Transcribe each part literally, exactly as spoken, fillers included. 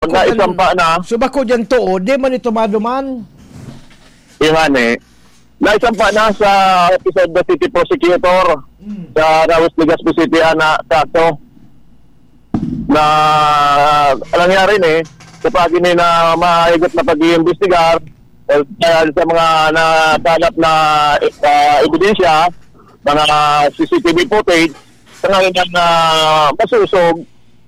Pag naisampa na, so bako dyan to, oh, di man ito maduman. Yung ano eh, naisampa na sa Office of the City Prosecutor Mm. sa Rawis, Legazpi City, ana, kaso na nangyari ni, sa pagi ni na mahigot na pag-iimbestigar, eh, dahil sa mga natanap na, ah, ebidensya, mga C C T V footage, sa ngayon na masusog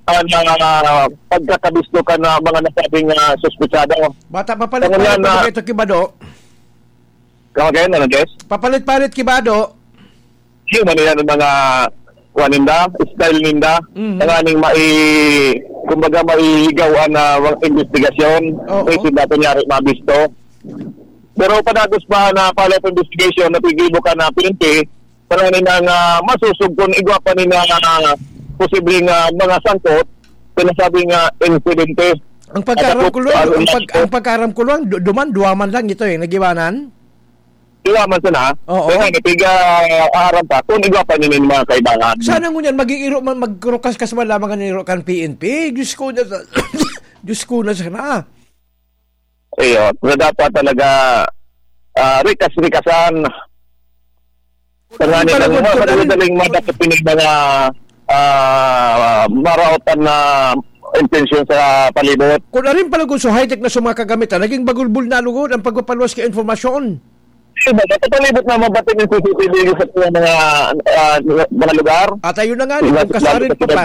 ang, ah, pagkakabisto kan, ah, mga nasabing, ah, suspetsado. Bata, papalit-palit Tangan yan pa na ba ito, Kibado? Come again, ano, Jess? Papalit-palit, Kibado. Yun, ano yan, ang mga kuha ninda, style ninda. Mhm. Tanganing mai-, kumbaga, maihigaw ang, ah, mga investigasyon. Oo. Kung sila kunyari mabisto. Pero padagos pa na follow-up investigation, napigibo ka na P N P, tanganing na nga masusog kung igwa pa ni na posibleng, ah, mga sangkot, sinasabing, ah, insidente. Ang pagkaaram At ko lang, ako, ang pag-, ang pagkaaram ko lang, du-, duman, duwa man lang ito eh, nagiwanan? Duwa man sana. Oo. Kaya nga, piga, ah, aaram pa, kung igwa pa nila yung mga kaibahan. Sana ngunyan, maging iro man, magkurukaskas man lamang ang iro kan P N P. Diyos ko na, Diyos ko na sana. Iyo, so dapat talaga, ah, rikas-rikasan. Tanganing Palagod lang ko, mga Darren. madaling madakop ini mga, ah, maraotan na intensyon sa palibot. Kung arin pala kung so high-tech na sa mga kagamitan, naging bagulbul na lugod ang pagpapaluwas kay informasyon. Diba, sa palibot na mabating yung C C T V sa mga, ah, mga lugar. At ayun na nga, Diba, kung kasarin lalo pa sa pa.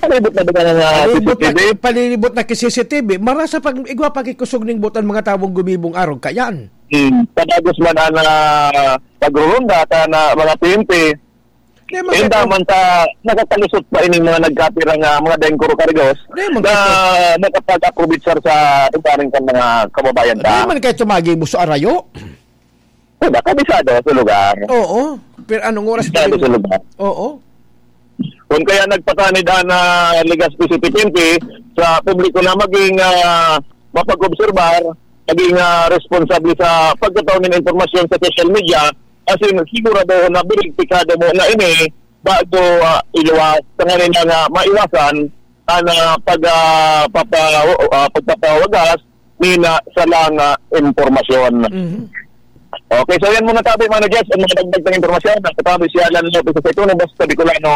Palibot na ba ng, ah, Palibot na, C C T V? palibot na kay C C T V, marasa pag igwa pakikusog ning butan mga tawong gumibong arog kayan. Hmm, padagos man ang, ah, pagrurunda ka na mga P N P. Di man Yung kayo daman sa nakakalusot pa ining mga nagkapira nga mga dengkuro karigos Di man na kayo. nakapag-aprobitsar sa ugaring kan mga kababayan Di ta. man kayo tumagi mo sa arayo? Diba, kabisado sa lugar. Oo. Pero anong oras Kabisado pa sa rin? lugar. Oo. Kung kaya nagpatanid ang, ah, Legazpi City P N P sa publiko na maging, ah, mapag-obserbar, maging, ah, responsable sa pagkataon ng impormasyon sa social media, asin siguradohon na beripikado mo na ini bago, ah, iluwas. Tanganing na nga maiwasan ang, ah, pag, ah, papa-, ah, pagpapawagas nina sa lang, ah, impormasyon. Mhm. Okay, so yan muna tabi, Mano Jess, ang mga dagdag na impormasyon. Ang katabi si Alan Lopez sa Ituno, basta Bicolano,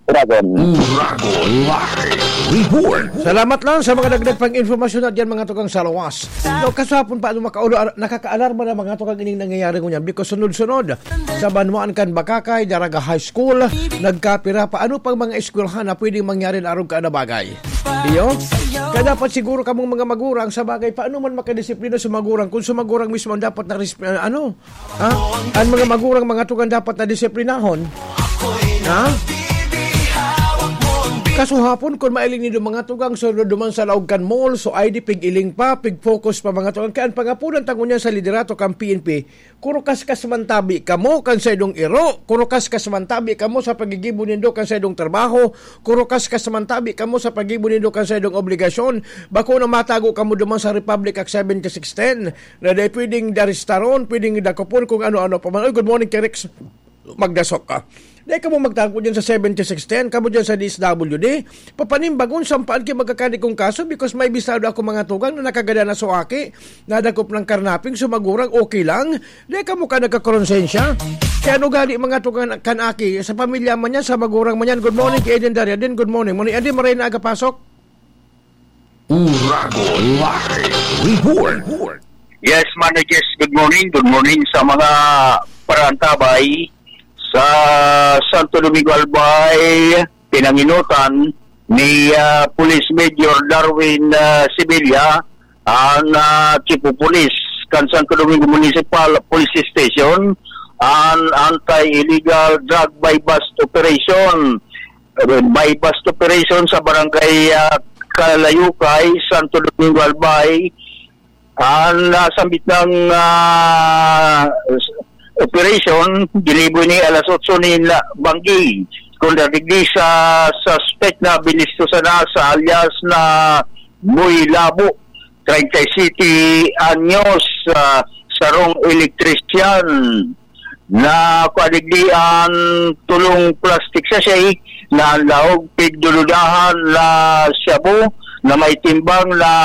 Uragon. Uragon Live Report. Salamat lang sa mga dagdag pang impormasyon na diyan, mga tukang sa lawas. So, kasapon pa, ano, makaulo-, ar-, nakakaalarma na mga tukang ining nangyayari ngunyan because sunod-sunod sa banwaan kan Bacacay, Daraga High School, nagkapira pa. Ano pang mga eskwelahan na pwedeng mangyari na arog ka na bagay? Iyo? Kaya dapat siguro kamong mga magurang, sa bagay, paano man makadisiplina sa magurang kung sa magurang mismo ang dapat na resp-, ano? Ha? Ang mga magurang, mga tugang dapat na disiplinahon. Ha? Kasuhapon, kung mailing nindo mga tugang, so duman sa laog kan mall, so I D pig-iling pa, pig-focus pa mga tugang. Kaya ang pangapunan tango niya sa liderato kan P N P, kurukaskas man tabi kamo kan saidong iro, kurukaskas man tabi kamo sa paggigibo nindo kan saidong trabaho, kurukaskas man tabi kamo sa paggibo nindo kan saidong obligasyon. Bako na matago kamo duman sa Republic Act seven six ten na dai pwedeng daristaron, pwedeng dakopon kung ano-ano pa man. Ay, good morning, Kerex. Magdasok ka. Dai kamo magtago dyan sa seven six ten, kamo dyan sa D S W D. Papanimbagon, sampaan kayo magkakadi kong kaso because may bisado ako mga tugang na nakagada na so aki, nadakop ng karnaping, sumagurang okay lang. Dai kamo ka nagkakoronsensya. Kaya ano gali mga tugang kan aki, sa pamilya man yan, sa magurang man yan. Good morning kay Eden Daria din. Good morning. Muna, Eden, maray na aga pasok. Uragon Live Report. Yes, Mano Jess, good morning. Good morning sa mga parantabay sa Santo Domingo Albay, pinanginutan ni, ah, Police Major Darwin, ah, Sevilla, ang, ah, Chief of Police kan Santo Domingo Municipal Police Station, ang anti-illegal drug buy-bust operation. Buy-bust operation sa barangay, ah, Kalayukay, Santo Domingo, Albay. Ang nasambit ng, ah, operation, ginibo ni alas otso ni la-, Banggi. Kung nadigdi sa suspect na binisto sana sa alias na Boy Labo, treinta y siete anyos, ah, sarong elektrisyan. Na kuha digdi ang tulong plastic sachet na ang laog pigdududahan na shabu na may timbang na